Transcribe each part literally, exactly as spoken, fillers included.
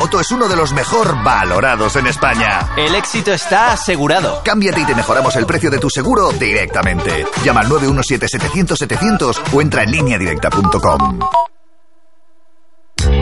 moto es uno de los mejor valorados en España. El éxito está asegurado. Cámbiate y te mejoramos el precio de tu seguro directamente. Llama al nueve uno siete setecientos setecientos o entra en línea directa punto com.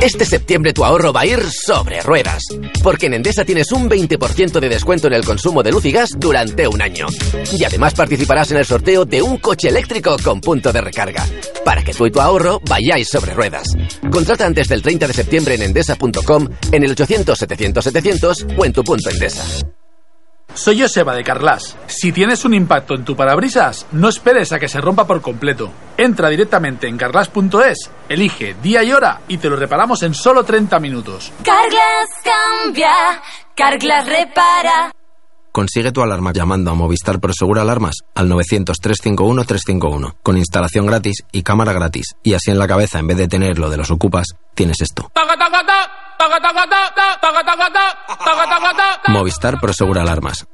Este septiembre tu ahorro va a ir sobre ruedas, porque en Endesa tienes un veinte por ciento de descuento en el consumo de luz y gas durante un año. Y además participarás en el sorteo de un coche eléctrico con punto de recarga, para que tú y tu ahorro vayáis sobre ruedas. Contrata antes del treinta de septiembre en endesa punto com, en el ochocientos setecientos setecientos o en tu punto Endesa. Soy Joseba de Carglass. Si tienes un impacto en tu parabrisas, no esperes a que se rompa por completo. Entra directamente en carglass punto es, elige día y hora y te lo reparamos en solo treinta minutos. Carglass cambia, Carglass repara. Consigue tu alarma llamando a Movistar Prosegur Alarmas al novecientos, trescientos cincuenta y uno, trescientos cincuenta y uno, con instalación gratis y cámara gratis. Y así en la cabeza, en vez de tener lo de los ocupas, tienes esto. Movistar Prosegur Alarmas.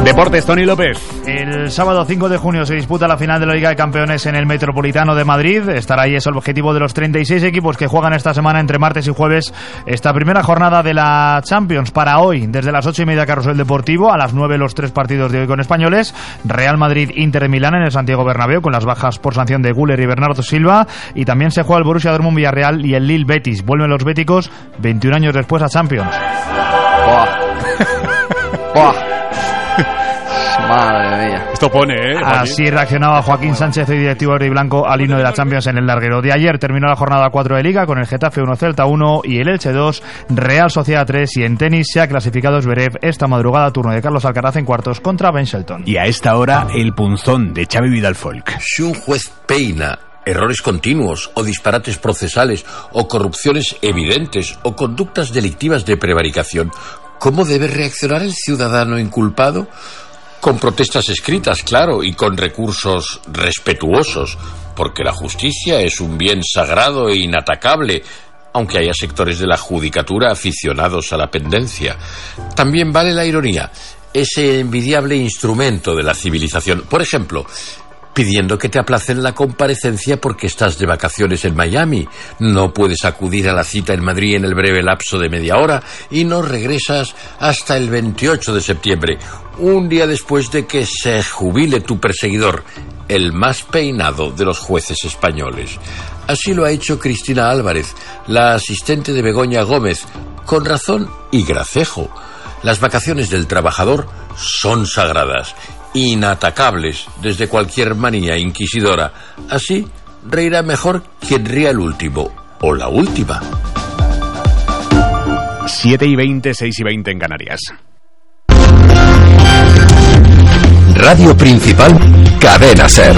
Deportes, Tony López. El sábado cinco de junio se disputa la final de la Liga de Campeones en el Metropolitano de Madrid. Estar ahí es el objetivo de los treinta y seis equipos que juegan esta semana entre martes y jueves esta primera jornada de la Champions. Para hoy, desde las ocho y media, Carrusel Deportivo. A las nueve, los tres partidos de hoy con españoles. Real Madrid, Inter de Milán en el Santiago Bernabéu, con las bajas por sanción de Güler y Bernardo Silva. Y también se juega el Borussia Dortmund Villarreal y el Lille Betis. Vuelven los béticos veintiún años después a Champions. Buah. Buah. Madre mía. Esto pone, ¿eh? Así reaccionaba Joaquín Sánchez, hoy directivo verde y blanco, al himno de la Champions en el larguero. De ayer terminó la jornada cuatro de Liga con el Getafe uno, Celta uno y el Elche dos, Real Sociedad tres. Y en tenis se ha clasificado Zverev esta madrugada, turno de Carlos Alcaraz en cuartos contra Ben Shelton. Y a esta hora, el punzón de Xavi Vidal Folk. Si un juez peina errores continuos o disparates procesales o corrupciones evidentes o conductas delictivas de prevaricación, ¿cómo debe reaccionar el ciudadano inculpado? Con protestas escritas, claro, y con recursos respetuosos, porque la justicia es un bien sagrado e inatacable, aunque haya sectores de la judicatura aficionados a la pendencia. También vale la ironía, ese envidiable instrumento de la civilización. Por ejemplo, pidiendo que te aplacen la comparecencia porque estás de vacaciones en Miami, no puedes acudir a la cita en Madrid en el breve lapso de media hora y no regresas hasta el veintiocho de septiembre, un día después de que se jubile tu perseguidor, el más peinado de los jueces españoles. Así lo ha hecho Cristina Álvarez, la asistente de Begoña Gómez, con razón y gracejo. Las vacaciones del trabajador son sagradas, inatacables desde cualquier manía inquisidora. Así reirá mejor quien ría el último o la última. siete y veinte, seis y veinte en Canarias. Radio Principal, Cadena SER.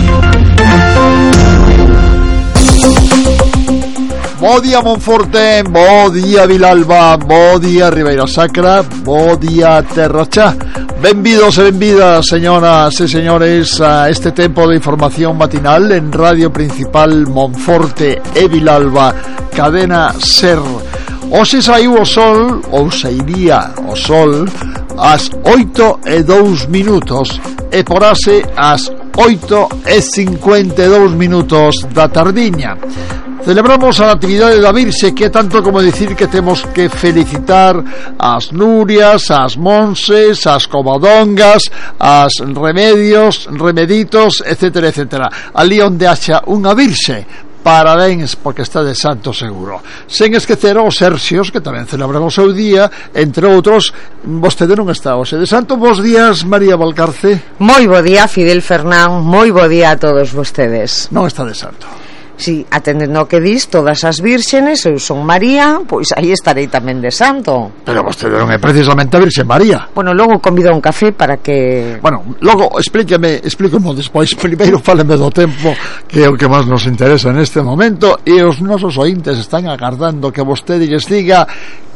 Bo día Monforte, bo día Vilalba, bo día Ribeira Sacra, bo día Terra Cha. Benvidos e benvidas, señoras e señores, a este tempo de información matinal en Radio Principal Monforte e Vilalba, Cadena SER. Hoxe saiu o sol, ou sairía o sol, ás oito e dous minutos e porase ás oito e cincuenta e dous minutos da tardiña. Celebramos a Natividade da Virxe, que é tanto como dicir que temos que felicitar as Nurias, as Monses, as Covadongas, as Remedios, Remeditos, etcétera, etcétera. Ali onde haxa unha Virxe, parabéns, porque está de santo seguro. Sen esquecer aos Serxios, que tamén celebran o seu día, entre outros. Vostede non está hoxe de santo. Bos días, María Valcarce. Moi bo día, Fidel Fernán. Moi bo día a todos vostedes. Non está de santo. Si, atendendo o que dis, todas as vírgenes, eu son María, pois aí estarei tamén de santo. Pero vostede non é precisamente a Virxe María. Bueno, logo convido a un café para que... Bueno, logo explíqueme, explíquemo despois. Primeiro fáleme do tempo, que é o que máis nos interesa neste momento, e os nosos ointes están agardando que vostede lles diga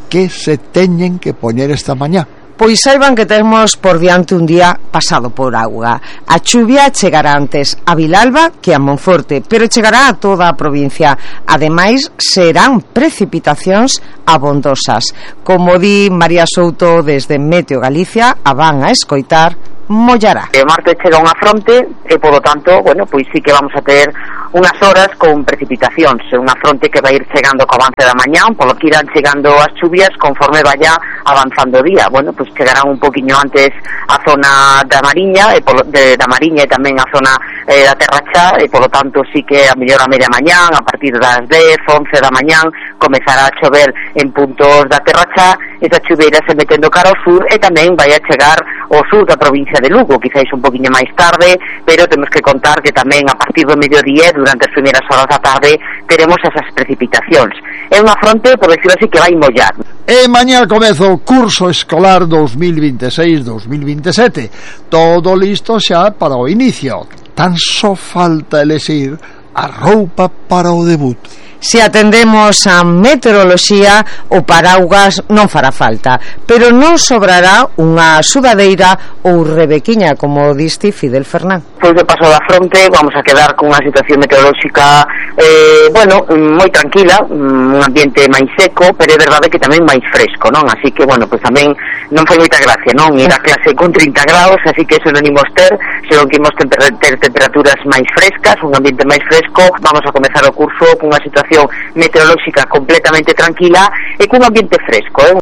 que se teñen que poñer esta mañá. Pois saiban que temos por diante un día pasado por auga. A chuvia chegará antes a Vilalba que a Monforte, pero chegará a toda a provincia. Ademais, serán precipitacións abondosas. Como di María Souto desde Meteo Galicia, a van a escoitar, mollará. O martes chega unha fronte e, polo tanto, bueno, pois sí que vamos a ter unhas horas con precipitacións, unha fronte que vai ir chegando co avance da mañán, polo que irán chegando as chuvias conforme vaya avanzando o día. Bueno, pois pues chegarán un poquinho antes a zona da Mariña, e polo, de, da Mariña e tamén a zona eh, da Terra Chá, e polo tanto sí que a mellor a media mañán, a partir das dez, once da mañán, comezará a chover en puntos da Terra Chá, esa chuveira se metendo cara ao sur e tamén vai a chegar ao sur da provincia de Lugo, quizáis un poquinho máis tarde, pero temos que contar que tamén a partir do mediodía, durante as primeiras horas da tarde, teremos esas precipitacións. É unha fronte, por decirlo así, que vai mollar. E mañá comezo o curso escolar dos mil veintiséis dos mil veintisiete. Todo listo xa para o inicio. Tan só falta elexir a roupa para o debut. Se atendemos a meteoroloxía, o paraugas non fará falta, pero non sobrará unha sudadeira ou rebequiña, como diste Fidel Fernán. Pois de paso da fronte vamos a quedar con unha situación meteorolóxica eh, bueno, moi tranquila, un ambiente máis seco, pero é verdade que tamén máis fresco, non? Así que, bueno, pois tamén non foi moita gracia, non? Ir a clase con trinta graus, así que eso non imos ter, senón que imos ter, ter temperaturas máis frescas, un ambiente máis fresco. Vamos a comezar o curso con unha situación meteorolóxica completamente tranquila e cun ambiente fresco, eh?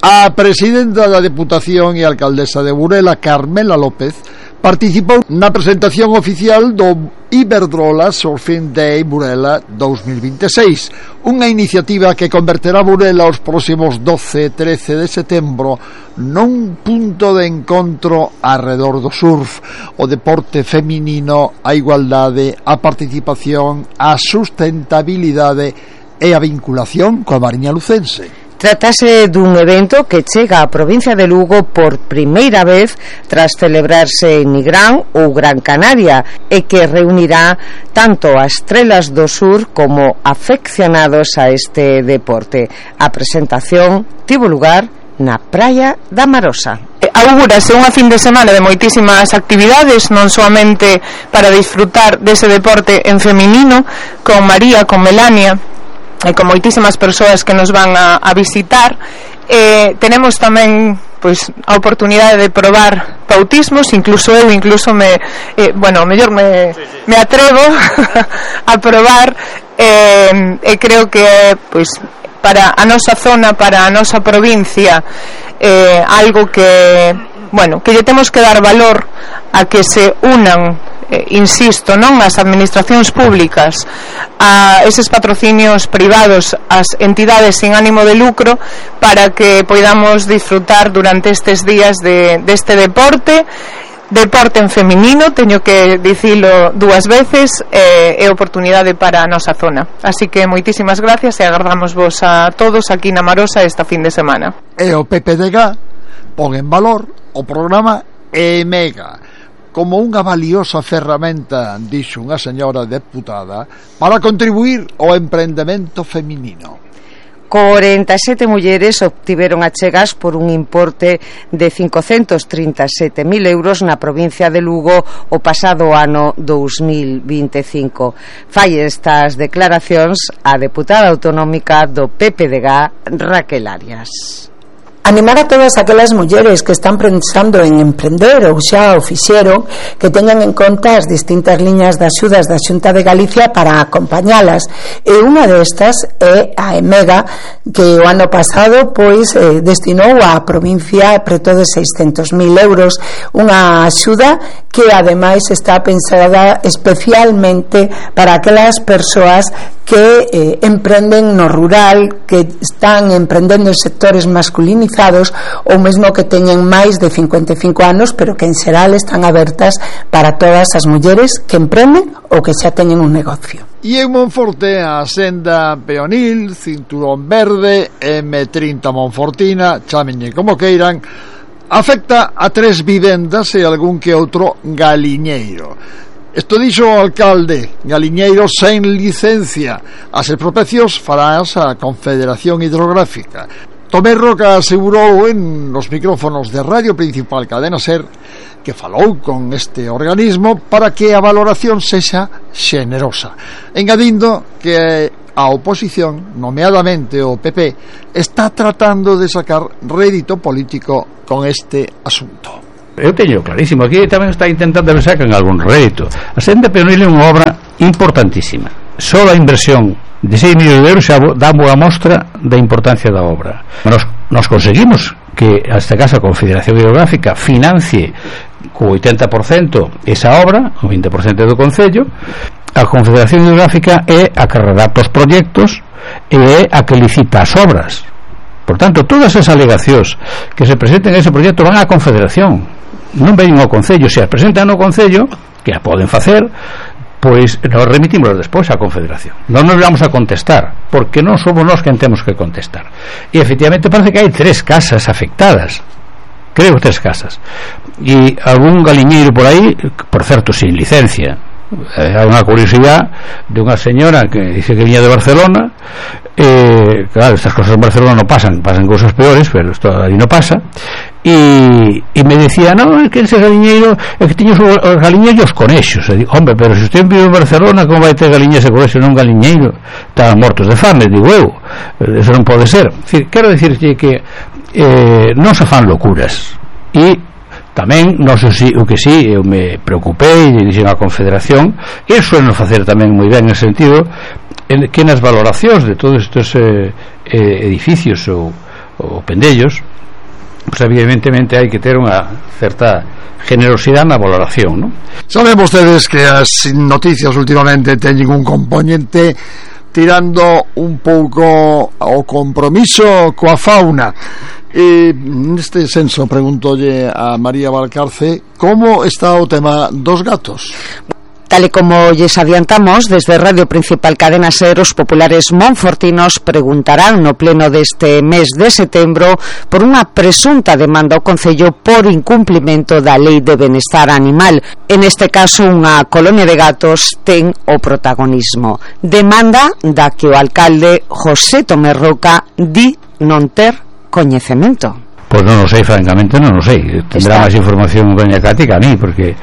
A presidenta da Deputación e alcaldesa de Burela, Carmela López, participou na presentación oficial do Iberdrola Surfing Day Burela dos mil veintiséis, unha iniciativa que converterá Burela os próximos doce e trece de setembro nun punto de encontro arredor do surf, o deporte feminino, a igualdade, a participación, a sustentabilidade e a vinculación coa Mariña lucense. Tratase dun evento que chega á provincia de Lugo por primeira vez tras celebrarse en Nigrán ou Gran Canaria e que reunirá tanto a estrelas do sur como afeccionados a este deporte. A presentación tivo lugar na praia da Marosa. Augúrase unha fin de semana de moitísimas actividades, non soamente para disfrutar dese deporte en feminino, con María, con Melania e con moitísimas persoas que nos van a, a visitar. Eh, tenemos tamén pois a oportunidade de probar bautismos, incluso eu incluso me eh, bueno, mellor me, me atrevo a probar eh, e creo que pois para a nosa zona, para a nosa provincia, eh, algo que bueno, que lle temos que dar valor a que se unan, Eh, insisto, non as administracións públicas, a eses patrocinios privados, as entidades sin ánimo de lucro, para que poidamos disfrutar durante estes días de deste deporte deporte en feminino, teño que dicilo dúas veces, eh, é oportunidade para a nosa zona. Así que moitísimas gracias e agardamos vos a todos aquí na Marosa esta fin de semana. E o P P D G pon en valor o programa EMEGA como unha valiosa ferramenta, dixo unha señora deputada, para contribuir ao emprendemento feminino. corenta e sete mulleres obtiveron achegas por un importe de cincocentos trinta e sete mil euros na provincia de Lugo o pasado ano dous mil vinte e cinco. Fai estas declaracións a deputada autonómica do P P D G, Raquel Arias. Animar a todas aquelas mulleres que están pensando en emprender ou xa o fixeron, que teñan en conta as distintas liñas de axudas da Xunta de Galicia para acompañalas, e unha destas é a EMEGA, que o ano pasado pois eh, destinou á provincia preto de seiscentos mil euros, unha axuda que ademais está pensada especialmente para aquelas persoas que eh, emprenden no rural, que están emprendendo en sectores masculinizados ou mesmo que teñen máis de cincuenta e cinco anos, pero que en xeral están abertas para todas as mulleres que emprenden ou que xa teñen un negocio. E en Monforte a senda peonil, cinturón verde, eme trinta Monfortina, chámenlle como queiran, afecta a tres vivendas e algún que outro galiñeiro. Isto dixo o alcalde: galiñeiro sen licencia. As expropiacións farás a Confederación Hidrográfica. Tomé Roca asegurou en os micrófonos de Radio Principal Cadena Ser que falou con este organismo para que a valoración sexa xenerosa, engadindo que a oposición, nomeadamente o P P, está tratando de sacar rédito político con este asunto. Eu teño clarísimo, aquí tamén está intentando ver sacan algún rédito. A senda peonil é unha obra importantísima. Só a inversión de seis millóns de euros xa dá boa mostra da importancia da obra. Nos, nos conseguimos que, neste caso, a Confederación Hidrográfica financie co oitenta por cento esa obra, o vinte por cento do Concello. A Confederación Hidrográfica é a que redacta os proxectos e é a que licita as obras. Por tanto, todas as alegacións que se presenten en ese proxecto van á Confederación, non ven ao Concello. Se as presentan ao Concello, que a poden facer, pois nos remitimos despois á Confederación. Non nos vamos a contestar, porque non somos nós quen temos que contestar. E efectivamente parece que hai tres casas afectadas, creo tres casas, e algún galiñeiro por aí, por certo, sin licencia. Hai unha curiosidade de unha señora que dice que viña de Barcelona. Eh, claro, estas cosas en Barcelona no pasan, pasan cosas peores, pero esto aí no pasa. E, e me decía, no, é que ese galiñeiro é que tiña os, os galiños e os conexos. E digo, hombre, pero se usted vive en Barcelona, como vai ter galiñas e conexos non galiñeiro? Estaban mortos de fame, digo eu, eso non pode ser. Decir, quero dicirche que eh, non se fan locuras. E tamén, non sei si, o que si, eu me preocupei e dixen a Confederación, e suelen facer tamén moi ben en sentido en que nas valoracións de todos estes eh, eh, edificios ou, ou pendellos, pues evidentemente hai que ter unha certa generosidade na valoración, non? Saben vostedes que as noticias últimamente teñen un componente tirando un pouco ao compromiso coa fauna. E neste senso preguntolle a María Valcarce como está o tema dos gatos. Tal e como lles adiantamos, desde Radio Principal Cadena Ser, os populares monfortinos preguntarán no pleno deste mes de setembro por unha presunta demanda ao Concello por incumplimento da Lei de Benestar Animal. En este caso, unha colonia de gatos ten o protagonismo. Demanda da que o alcalde José Tomé Roca di non ter coñecemento. Pois non o sei, francamente non o sei. Tendrá máis información doña Cati que a mí, porque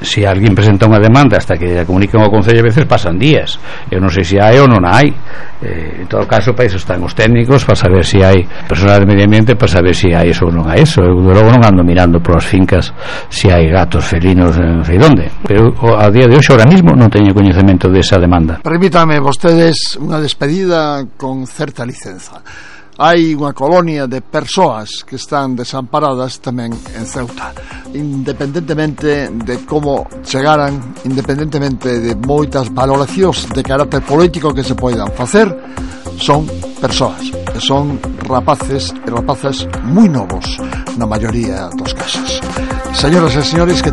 se alguén presenta unha demanda hasta que a comuniquen ao Concello, a veces pasan días. Eu non sei se hai ou non hai. Eh, en todo caso, para iso están os técnicos, para saber se hai personal de medio ambiente, para saber se hai eso ou non hai eso. Eu logo non ando mirando polas fincas se hai gatos, felinos, non sei onde. Pero a día de hoxe, ahora mismo, non teño coñecemento desa demanda. Permítame vostedes unha despedida con certa licenza. Hai unha colonia de persoas que están desamparadas tamén en Ceuta, independentemente de como chegaran, independentemente de moitas valoracións de carácter político que se poidan facer, son persoas, que son rapaces e rapazas moi novos na maioría dos casos. Señoras e señores, que